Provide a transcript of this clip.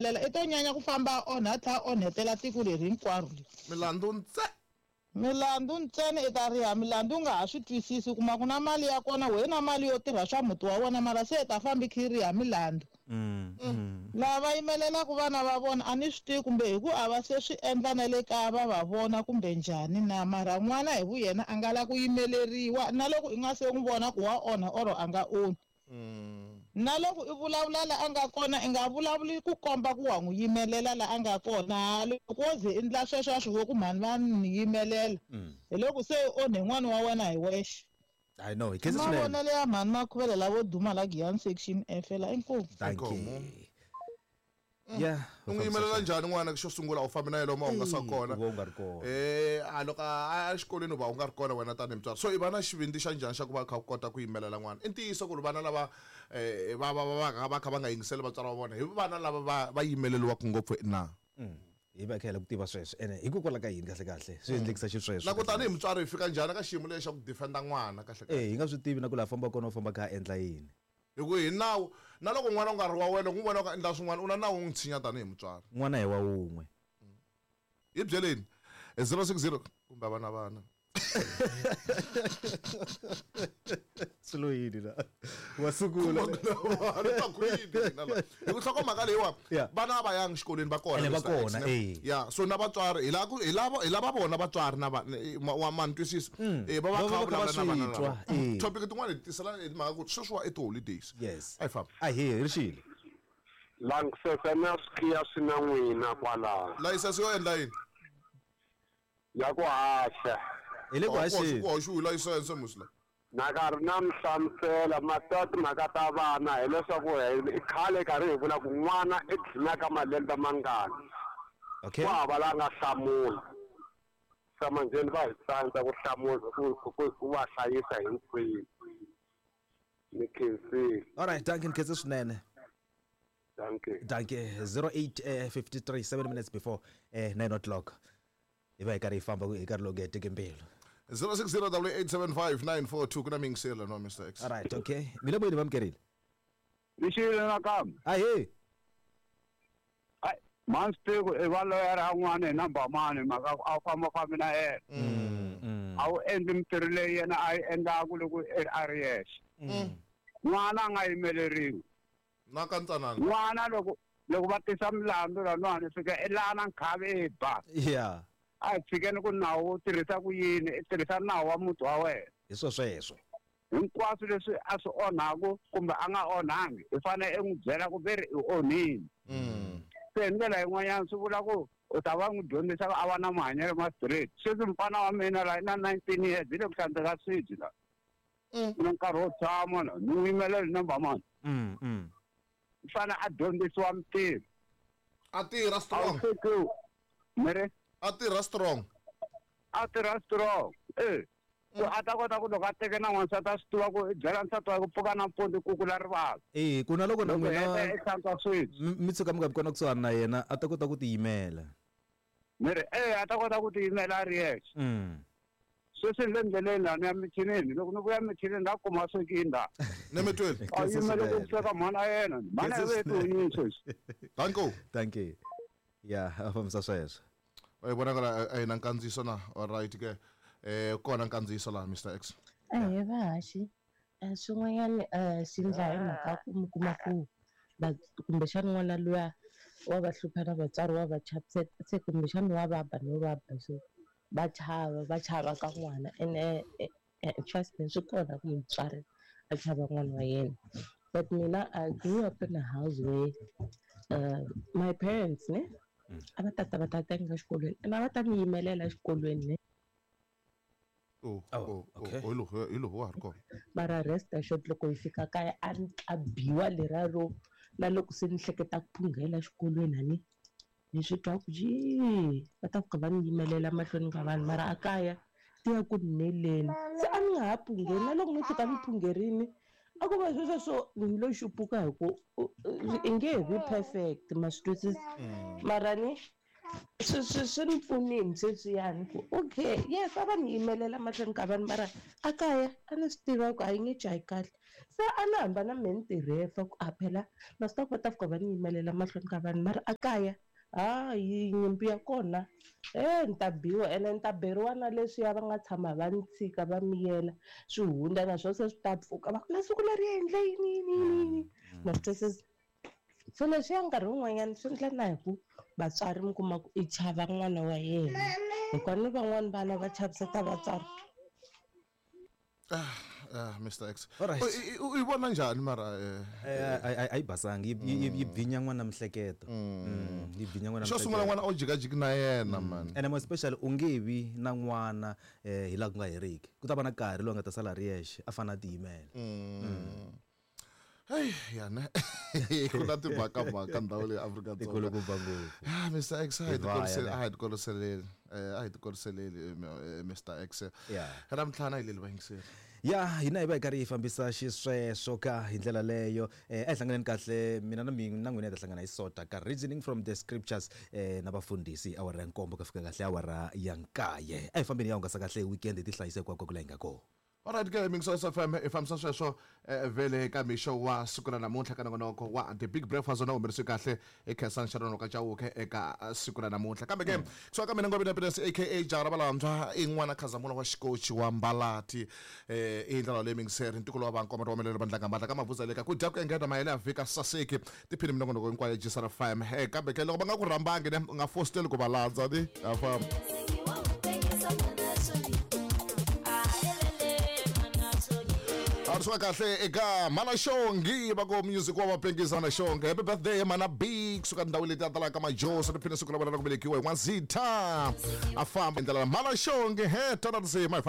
Lela i to nyanya ku famba a onha a tlhela a onhetela tiko leri hinkwaro leri. Milandzu ntse. Milandzu ntsena i ta riha milandzu u nga ha swi twisisi u kuma ku na mali ya kona wehe na mali yo tirha swa muti wa wena mara se i ta famba i kha i riha milandzu. Lava va yimelelaka vana va vona a ni swi tivi kumbe hi ku a va se swi endla na le kaya va va vona kumbe njhani na mara n'wana hi vuyena a nga la ku yimeleriwa na loko i nga se n'wi vona ku wa onha or a nga onhi. Na loko i vulavula la a nga kona, i nga vulavuli ku komba ku wa n'wi yimelela la a nga kona. Loko wo ze i ndla sweswo a swi vo ku mhani va ni yimelela, hi loko se i onhe n'wana wa wena hi wexe. I know, hi I khensa swinene. mavonelo ya mhani Makhuvele lavo duma la Giyani Section F la. Inkomu. Dankie. Inkomu. Yeah. U n'wi yimelela njhani n'wana xo sungula u fambi na yena lomu a hungasa kona u va u nga ri kona. Eh, a loko a ya exikolweni u va u nga ri kona wena tanihi mutswari so i va na xivindzi xa njhani xa ku va u kha u kota ku yimelela n'wana i ntiyiso ku ri vana lava um va va va va va kha va nga yingiseli vatswari va vona hi vana lava va va yimeleriwaka ngopfu na Hi va hi kha hi lava ku tiva sweswo ene hikokwalaho ka yini kahle kahle swi endlekisa xisweswo na ku tanihi mutswari hi fika njhani ka xiyimo lexi xa ku defenda n'wana kahle kahle Eh, hi nga swi tivi na ku laha fambaka kona u famba a kha a endla yini Hi ku hi nawu, na loko n'wana u nga ri wa wena, u n'wi vona u endla swin'wana, u na nawu wo n'wi tshinya tanihi mutswari. N'wana hi wa wun'we. Hi byeleni. 060 kumbe a va na vana. Swi lo yini la? Wa sungula. Ni twa ku yini mina la? Hi ku nhlokomhaka leyiwa, Yeah. vana a va yangi xikolweni va kona. Ene va Mr. X, kona, ne? eh. Yeah, so na vatswari hi lava ku hi lava hi lava vona vatswari na va wa ma ni twisisa. Eh, va va Va kha va va kha va vulavula na vana swi twa, lava. eh. Topic tin'wana hi tisela hi timhaka ku sweswiwa i ti-holidays. Yes. A hi famba. Ahee, ri xile. Langisese na swikhiya swi na n'wina kwalaho. Layisense yo endla yini? Ya ku haxa. Hi le ku haxeni. Ku haxiwi layisense musi la. Na karhi na mi hlamusela ma tiva timhaka ta vana hileswaku i khale karhi hi vula ku n'wana i dlina ka malembe mangani. Okay. Ku hava la nga hlamula. Sa manjheni va hi tsandza ku hlamula ku ku ku va hlayisa hinkwenu. Ni khensile. All right, dankie ni khense swinene. Dankie. Dankie. 08:53 7 minutes before 9 o'clock. Hi va hi karhi hi famba hi karhi loku heteke mbilu. 06087594 ku na miyingiselo no Mr X. All right, okay. Mi le moyeni va mukerile. Ni xile nakambe. Ahee. Ai, mhani swi tivi ku i va loyara n'wana hi number mani mhaka ku a wu fambafambi na yena. A wu endli mintirho leyi yena a yi endlaku loko a ri yexe. N'wana a nga yimeleriwi. Na ka ntsanana. N'wana loko loko va tisa milandzu laniwani fika i lana nkhavi i ba. Yeah. A hi tshikeni ku nawu wu tirhisa ku yini, i tirhisa nawu wa muti wa wena. Hi swo sweswo. Hinkwaswo leswi a swi onhaku kumbe a nga onhangi, i fanele i n'wi byela ku ve ri i onhile. Se hi ndlela yin'wanyana swi vula ku u ta va n'wi dyondzisa ku a va na mahanyelo ma straight. Sweswi mufana wa mina la i na 19 years, hi le ku hlantsweka swibye la. U na nkarhi wo tshama la, ni n'wi yimelela hi number mani. U fanele a dyondzisiwa mintirho. A tirha strong. A wu fiki mi ri? A tirha strong. A tirha strong. Eh. Ku a ta kota ku loko a teke na n'wansati a swi tiva ku i byela nsati wa ku pfuka nampundzu ku kula rivala. Eh, ku na loko na Loko n'wina heta i hlantswa swibye. mi tshuka mi nga vi kona kusuhani na yena a ta kota ku tiyimela. Mi ri eh a ta kota ku tiyimela a ri yexe. Sweswi ni le ndleleni laha ni ya michinini loko ni vuya michinini la kuma swekini la. Ni mi twile. A yimele ku sweka mhana yena. Mhana ya Khensa ve tonyini sweswi. Thank you. Thank you. Yeah, a fambisa sweswo. Wa yi vonakala a hi na nkandziyiso na all right ke. Eh kona nkandziyiso laha Mr X. Ahee vahaxi swin'wanyana swi endla hi mhaka ku mi kuma ku va kumbexana n'wana luya wa va hlupha na vatswari wa va chaviseta se kumbexana wa va ba no va ba so va chava va chava ka n'wana ene trust me swi kona ku mutswari a chava n'wana wa yena but mina I grew up in a house where my parents ne a va tata va ta tenga exikolweni ene a va ta ni yimelela exikolweni ne. Oh, Oh, oh, okay. oh, hi lowu hi lowu wa ha ri kona. Mara rest assured loko hi fika kaya a ni ta biwa leriya ro na loko se ni hleketa ku phunghela exikolweni a ni ni swi twa ku jii va ta fika va ni yimelela mahlweni ka vanhu mara a kaya ti ya ku ni neleni se a ni nga ha phungheli na loko no tshuka ni phungherini a ku va sweswo swo ni lo xupuka hi ku i nge he vi perfect ma swi twisisa mara ni Swi ni pfunini sweswiyani ku okay, yes, a va ni yimelela mahlweni ka vanhu, mara a kaya a ni swi tiva ku a yi nge jahi kahle. Se a ni hamba na mehe ni ti rhefa ku a phela na swi tiva ku va ta fika va ni yimelela mahlweni ka vanhu, mara a kaya hayi, nyimpi ya kona ni ta biwa ene ni ta beriwa na leswiya va nga tshama va ni tshika va miyela swi hundza, na swona se swi ta pfuka va ku na siku leri endle yini yini yini yini, ma swi twisisa. So leswiya nkarhi wun'wanyana swi endla na hi ku vatswari mi kuma ku i chava n'wana wa yena, hikuva ni van'wani vana va chaviseta vatswari. Mr X. Alright. U yi vona njhani mara? A yi basangi, yi bvinya n'wana mihleketo. Yi bvinya n'wana. Xo sungula, n'wana o jikajiki na yena man. Ene more especially u nge vi na n'wana hi laha ku nga heriki, ku ta va na nkarhi lowu a nga ta sala ri yexe, a fanele a tiyimela. Hey, yana ku na timhakamhaka ndhawu leyi Afrika-Dzonga. Tikulukumba ngopfu. Ah, Mr X, a hi Hi vaya, ne. a hi tikoliseleli, a hi tikoliseleli, Mr X. Ra mintlhanu a hi leli vayingiseri. Ya hina hi va hi karhi hi fambisa xisweswo ka hi ndlela leyo. A hi hlanganeni kahle, mina na mina na n'wina hi ta hlangana hi sota ka Reasoning from the Scriptures na vafundhisi awara ya 7 ka fika kahle awara ya 9. A hi fambeni ya hungasa kahle weekend, hi ti hlayisa hinkwako ku la hi nga kona. Alright ke, Mingso FM i fambisa sweswo vele ka mixo wa siku ra namuntlha ka nongonoko wa The Big Breakfast, wona humelerisiwe kahle i Khensani Sharon ka Chauke eka siku ra namuntlha. Kambe ke kusuka ka mina Ngobeni Happiness aka Jara Valantshwa, i n'wana Khazamula wa xikochi wa Mbalati, i ndlela leyi mingiseri ntiko lowa vankoma wa melelo vandlanga matla ka mavuza le ka ku dya ku engeta mayele ya vhika saseki tiphini minongonoko hinkwayo ya Gsr FM. Kambe ke loko va nga ku rhambangi ne, u nga fositeli ku va landza ni a famba. Swa kahle eka Mana Xongi va ku music wa vapengisa na Xongi. Happy birthday Mana B, kusuka ndhawu leti a talaka majoso, tiphina siku ra vona ra ku velekiwa hi n'waZitha, a famba ndlela Mana Xongi he tana tinsimu hi famba.